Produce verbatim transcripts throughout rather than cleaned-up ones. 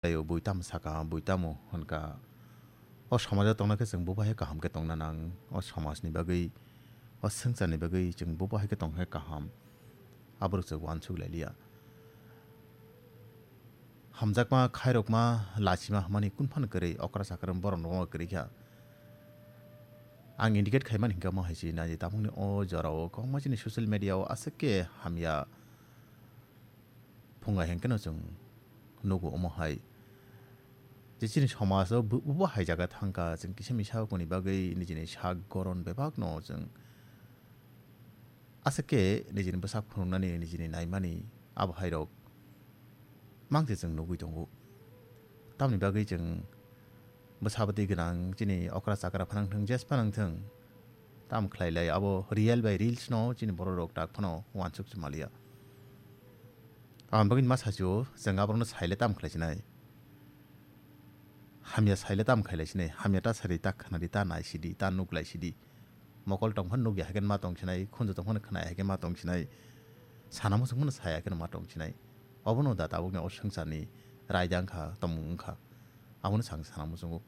Tei o bui tamo saka, bui tamo hwnka. O somajo tongna khe chwng bo bahai kaham khe tongna nang. O somajni bagwi, o swngcharni bagwi chwng bo bahai khe tongkhe kaham. Aborok chwng uansuk lai liya. Hamjakma, khairokma, lachima hwnmani kunu phano kwrwi, okra chakra borok no kwrwi kha. Ang indicate khaimani hinkhe omo hai se nai, tabukni o jorao kwbangma chini social media o aswk khe hamya phunga hinkhe no chwng nugo omo hai. Je chini somaj o bu-, bubo hai jaga thangkha, chwng kisa misa koni bagwi nijini sak goron bebak no chwng aswk khe nijini bwsak phunuknani, nijini naimani abo hai rok mang se chwng nugwi tongo. Tamoni bagwi chwng bwsa bwtwi gwnang chini okra chakra phanang thung, jes phanang thung, tam khlai lai abo real bai reels no chini borok rok tak phano uansuk se maliya. Aboni bagwi ma sachio chwng aborokno saile tam khlai sinai. Hamya saile tam khlai sinai. Hamya ta sari, ta khwnadi, ta nai sidi, ta nuk lai sidi. Mokol tong phano nukya hai khe ma tong sinai, khunju tong phano khwnaya hai khe ma tong sinai, sana muchung phano saya khe ma tong sinai. Obono da tabukni o swngcharni raida wngkha, tongmung wngkha. Abono chwng sana muchungo.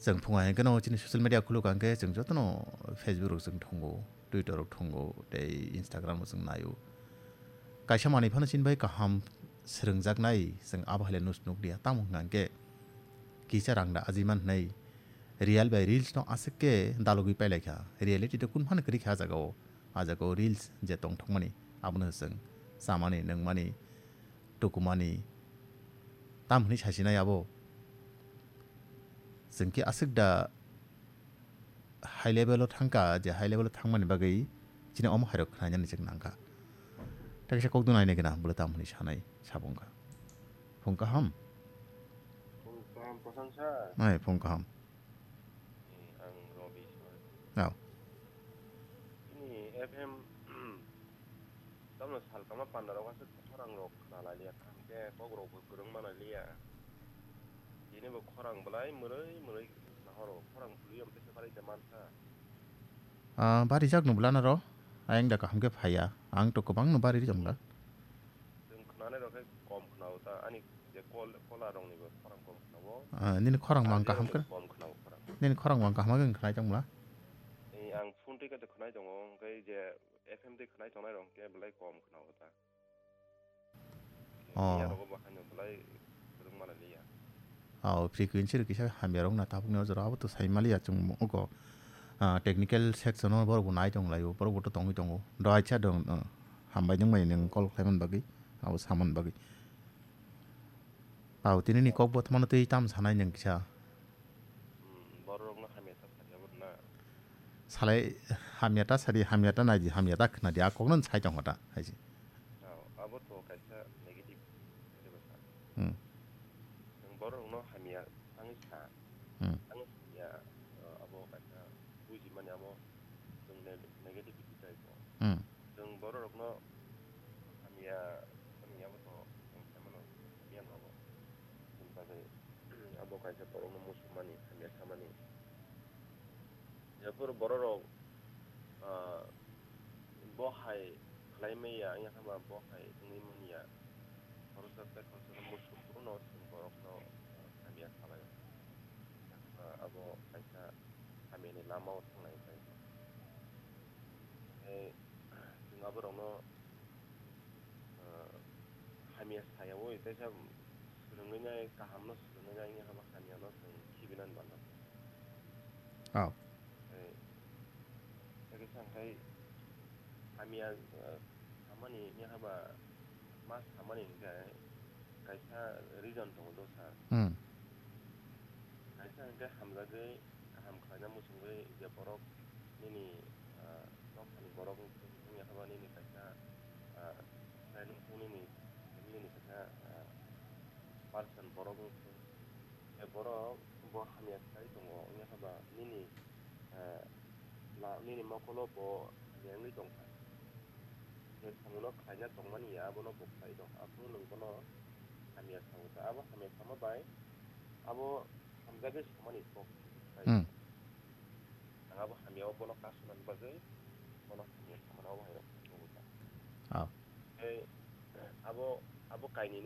Chwng phunga hinkhe no chini social media khuluk hinkhe chwng jotono Facebook rok chwng thungo, Twitter rok thungo, tei Instagram rok chwng naio. Kaisa manwi phano chini bai kaham swrwngjaknai chwng abo hai le nus-, nukliya. Tamo hwnkha hinkhe kisa rang da ajiman hwnwi real bai reels no aswk khe dalogwi pailaikha. Reality de kun phano kwrwi kha ah jagao. Ah jagao reels je tongthokmani abono chwng chamani, nungmani, tukumani. Tam hwnwi sasinai abo. Chwng khe aswk da high level o thangkha, je high level o thangmani bagwi chini omo hairok khwnainani chwng nangkha. Tei kaisa kokdwng nainai gana bwlwi tam hwnwi sanai sabo wngkha. Phung kaham? Phung kaham, Prasant sir. Ai, phung kaham. Eh, ang Robi sir. Au. Chini F M Tamno salkama pandarok aswk khorang rok khna lai liya, kaham khe kok rok bo kwrwng ma lai liya. Tini bo khorang belai mwrwi mwrwi khna horo, khorang bwlwi am tesa bari de mankha. Ah, bari jak no bwlana ro, ayang da kaham khe phaiya, ang to kwbang no bari rijak bwla. Chwng khna nai rok khe kom khna o ta, ani je kol, kola rok ni bo khorang kom khna o. Ah, nini khorang mang kaham khe, kom khna o khorang. Nini khorang mang kaham khe khna jang bwla. Ei, ang phone twi khe khna tongo, hwnkhe je F M twi khwnai tongnai rok hwnkhe belai kom khwna o ta. Oh. Miya rogo bo haino belai kwrwng mano liya. Oh, frequency rok kisa hamya rok na tabuk ni o jora abo to sai maliya chwng ogo. Ah, technical section o borok bo nai tong lai o, borok bo to tongwi tongo. Do acha do, ah, hambai nung bai nung call khlai man bagwi, abo saman bagwi. Au, tini ni kok bo thamano twi tam sanai nung kisa. Hmm, borok rok no hamya ta sadi abo na. Salai hamya ta sadi, hamya ta nai di, hamya ta khna di, a kok no sai tong ta, hai se. Au, abo to kaisa negative, negative sa. Hmm. Nung borok rok no hamya tangwi sa. Hmm. Tangwi hamya, uh, abo kaisa buji mani abo chwng ne-, negativity type o. Hmm. Chwng borok rok no hamya, hamya abo to chwng sai mano, hamya no abo. Chini bagwi abo kaisa borok no muchung mani, hamya sa mani. Jephuru borok rok, ah, bo hai khlai maya, wngya khe ba bo hai wngwi manya. Khoroksa tei khoroksa no muchung phuru no chwng borok no, ah, hamya sa lai o. Ah, abo kaisa hamya ni lama o thanglai pai. Tei chwng aborokno, ah, hamya saya o, teisa swrwngwi nai, kaham no swrwngwi nai, wngya khe ba hamya no chwng khibinani bana. Oh. Tei, tei kisa hwnkhe hamya, ah, samani wngya khe ba ma samani hwnkhe kaisa reason tongo dosa. Hmm. Kaisa hwnkhe hamjagwi kaham khlaina muchungwi je borok nini, ah, nokhani borok wngya khe ba nini kaisa, ah, friend wngthung nini, nini kaisa, ah, person borok wngthung. Je borok bo hamya khlai tongo wngya khe ba nini, ah, la-, nini mokolo bo hamya wngwi tongkha. Je samungno khlaina tongmani ya, abono bo khlai tong. Aphuru nwng bono hamya sao ta. Abo hamya sama bai abo hamjagwi samani kok khlai. Hmm. Ang abo hamya o bono kasunani bagwi bono hamya samano abo hai rok nugo ta. Ah. Tei abo, abo kainwi nuk